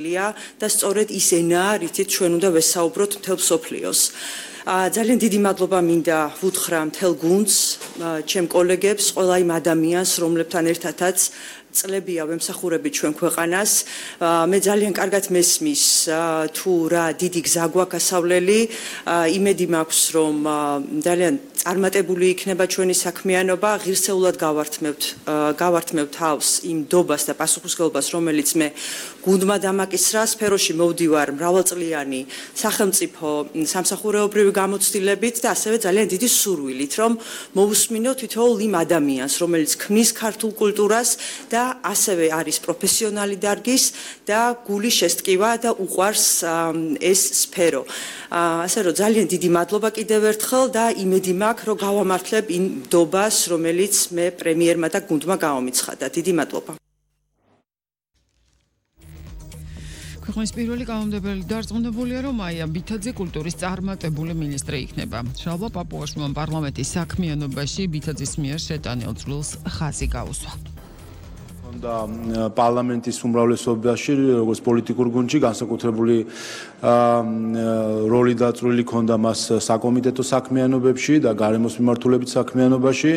და სწორედ ის ენაა, რითიც ჩვენ უნდა ვესაუბროთ მთელ მსოფლიოს. ძალიან დიდი მადლობა მინდა ვუთხრა მთელ გუნდს, ჩემ კოლეგებს, ყველა იმ ადამიანს, რომლებთან ერთადაც წლებია ვემსახურებით ჩვენ ქვეყანას. მე ძალიან კარგად მესმის თუ რა დიდი გზა გვაქვს ასავლელი. იმედი მაქვს, რომ ძალიან წარმატებული იქნება ჩვენი საქმიანობა. ღირსეულად გავართმევ თავს იმ დობას და პასუხისმგებლობას, რომელიც მე გუნდმა დამაკისრა. სფეროში მოვდივარ მრავალწლიანი სახელმწიფო სამსახურეობრივი გამოცდილებით და ასევე ძალიან დიდი სურვილით, რომ მოვუსმინო თითოეულ იმ ადამიანს, რომელიც ქმნის ქართულ კულტურას და ასევე არის პროფესიონალი დარგის და გული შესტკივა და უყვარს ეს სფერო. ასე რომ ძალიან დიდი მადლობა კიდევ ერთხელ და იმედი მაქვს, რომ გავამართლებ იმ დობას, რომელიც მე პრემიერმა და გუნდმა გამომიცხადა. დიდი მადლობა. ქვეყნის პირველი კანონმდებლელი დარწმუნებულია, რომ აია ბითაძე კულტურის წარმატებული მინისტრი იქნება. შალვა პაპუაშვილმა პარლამენტის საქმიანობაში ბითაძის მიერ შეტანილ წვლილს ხაზი გაუსვა. და პარლამენტის უმრავლესობაში, როგორც პოლიტიკურ გუნდში, განსაკუთრებული როლი დაწვრილი ჰქონდა მას საკომიტეტო საქმიანობებში და გარემოს მიმართულებით საქმიანობაში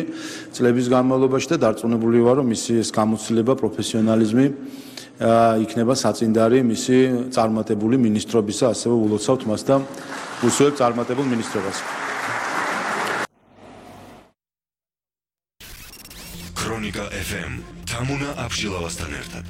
წლების განმავლობაში და დარწმუნებული ვარ, რომ მისი ეს გამოცდილება, პროფესიონალიზმი იქნება საწინდარი მისი წარმატებული მინისტრობისა, ასევე ულოცავთ მას და უსვევთ წარმატებულ მინისტრობას. ქრონიკა FM თამუნა აბშილავასთან ერთად.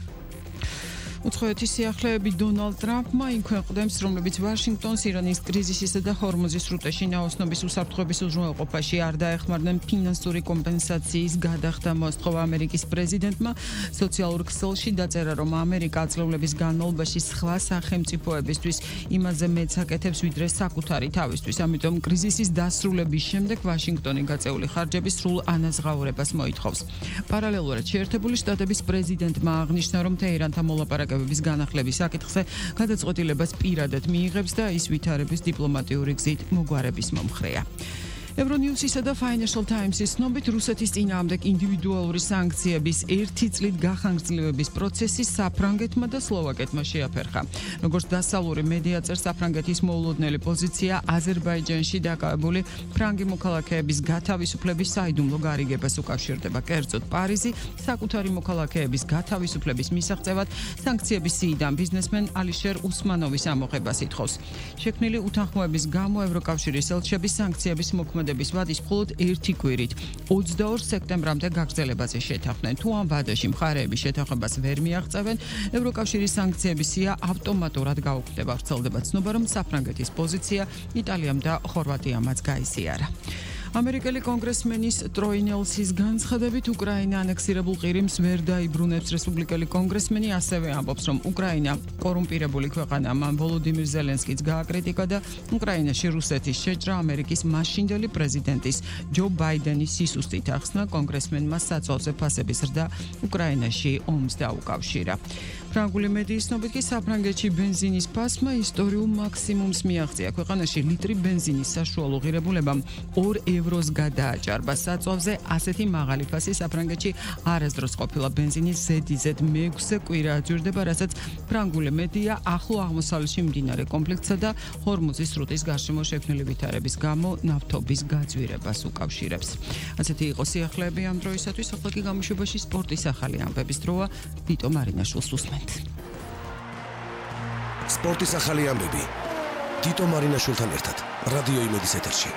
უცხოეთის სიახლეები დონალდ ტრამპმა იმ ქვეყნებს, რომლებიც ვაშინგტონს ირანის კრიზისისა და ჰორმუზის სრუტეში ნაოსნობის უსაფრთხოების უზრუნველყოფაში არ დაეხმარნენ ფინანსური კომპენსაციის გადახდა მოსთხოვა ამერიკის პრეზიდენტმა. სოციალურ ქსელში დაწერა, რომ ამერიკა აწლევლების განმავლობაში სხვა სახელმწიფოებისთვის იმაზე მეც აკეთებს, ვიდრე საკუთარი თავისთვის. ამიტომ კრიზისის დასრულების შემდეგ ვაშინგტონი გაწეული ხარჯების სრულ ანაზღაურებას მოითხოვს. პარალელურად შეერთებული შტატების პრეზიდენტმა აღნიშნა, რომ თეირანთან მოლაპარაკებების განახლების საკითხზე გადაწყვეტილებას პირადად მიიღებს და ის ვითარების დიპლომატიური გზით მოგვარების მომხრეა. Euronewsისა და Financial Times-ის ცნობით რუსეთის წინააღმდეგ ინდივიდუალური სანქციების 1 წლით გახანგრძლივების პროცესი საფრანგეთმა და სლოვაკეთმა შეაფერხა. როგორც დასავლური მედია წერს, საფრანგეთის მოულოდნელი პოზიცია აზერბაიჯანში დაკავებული ფრანგი მოქალაქეების გათავისუფლების საიდუმლო გარიგებას უკავშირდება. კერძოდ, პარიზი საკუთარი მოქალაქეების გათავისუფლების მისაღწევად სანქციების სიიდან ბიზნესმენ ალიშერ უსმანოვის ამოღებას ითხოვს. შექმნილი უთანხმოების გამო ევროკავშირის ელჩები სანქციების მოქმედების ვადის მხოლოდ 1 კვირით 22 სექტემბრამდე გაგრძელებაზე შეთანხმდნენ. თუ ამ ვადაში მხარეები შეთანხმებას ვერ მიაღწევენ, ევროკავშირის სანქციების სია ავტომატურად გაუქმდება. ვრცელდება ცნობა, რომ საფრანგეთის პოზიცია იტალიამ და ხორვატიამაც გაიზიარა. ამერიკელი კონგრესმენის ტროი ნელსის განცხადებით უკრაინა ანექსირებულ ყირიმს ვერ დაიბრუნებს. რესპუბლიკელი კონგრესმენი ასევე ამბობს, რომ უკრაინა კორუმპირებული ქვეყანაა. მან ვოლოდიმირ ზელენსკიც გააკრიტიკა და უკრაინაში რუსეთის შეჭრა ამერიკის მაშინდელი პრეზიდენტის ჯო ბაიდენის სისუსტით ახსნა. კონგრესმენმა საწოლზე ფასების ზრდა უკრაინაში ომს დაუკავშირა. ფრანგული მედიის ცნობით კი საფრანგეთში ბენზინის ფასმა ისტორიულ მაქსიმუმს მიაღწია. ქვეყანაში ლიტრი ბენზინის საშუალო ღირებულება 2 ევროს გადააჭარბა. საწოლზე ასეთი მაღალი ფასი საფრანგეთში არასდროს ყოფილა. ბენზინის ზედიზედ მე-6 კვირა აძვირდება, რასაც ფრანგული მედია ახლო აღმოსავლეთში მიმდინარე კონფლიქტსა და ჰორმუზის სრუტის გარშემო შექმნილი ვითარების გამო ნავთობის გაძვირებას უკავშირებს. ასეთი იყო სიახლეები ამ დროისათვის. ახლა კი გამოშვებაში სპორტის ახალი ამბების დროა. ვიტო მარინაშვილს უსმენთ. სპორტის ახალი ამბები. ვიტო მარინაშვილთან ერთად. რადიო იმედის ეთერში.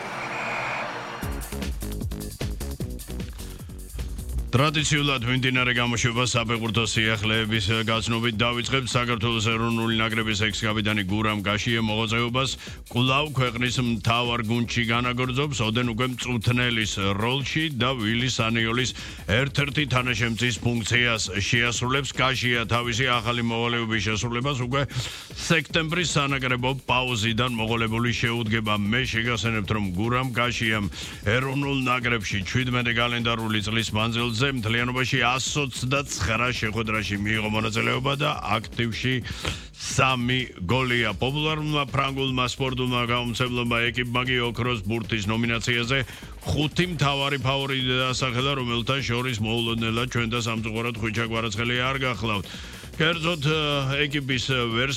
ტრადიციულად მიმდინარე გამოშვება საფეხბურთო სიახლეების გაცნობით დავიწყებთ. საქართველოს ეროვნული ნაკრების ექს-კაპიტანი გურამ გაშიე მოღვაწეობას კვლავ ქვეყნის მთავარ გუნდში განაგრძობს. ოდენ უკვე მწვრთნელის როლში და ვილი სანიოლის ერთ-ერთი თანაშემწის ფუნქციას შეასრულებს. გაშია თავისი ახალი მოვალეობის შესრულებას უკვე სექტემბრის სანაკრებო პაუზიდან მოყოლებული შეუდგება. მე შეგახსენებთ, რომ გურამ გაშიამ ეროვნულ ნაკრებში 17 კალენდარული წლის მანძილზე მთლიანობაში 129 შეხვედრაში მიიღო მონაწილეობა და აქტივში 3 გოლია. პოპულარულმა ფრანგულმა სპორტულმა გამომცემლობა ეკიპმა კი ოქროს ბურთის ნომინაციაზე 5 მთავარი ფავორიტი დასახელა, რომელთა შორის მოულოდნელად ჩვენ და სამწუხაროდ ხვიჩა კვარაცხელი არ გახლავთ. კერძოდ ეკიპის